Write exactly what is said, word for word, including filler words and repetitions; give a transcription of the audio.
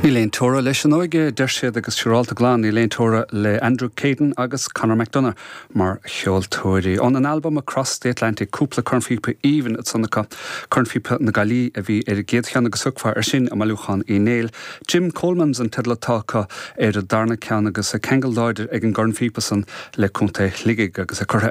Níl aon teora leis an óige deir siad agus siúrálta glan níl aon teora le Andrew Caden agus Conor McDonough mar cheoltóirí. Ón an album Across the Atlantic cúpla cornphíopa aoibhinn ansan acu cornphíopa na Gaillimhe a bhí ar an gcéad cheann agus thiocfá ar sin i mbailiúchán Uí Néill. Jim Coleman's an teideal atá acu ar an darna ceann agus ceangal láidir ag an gcornphíopa san le Contae Shligigh agus a curtha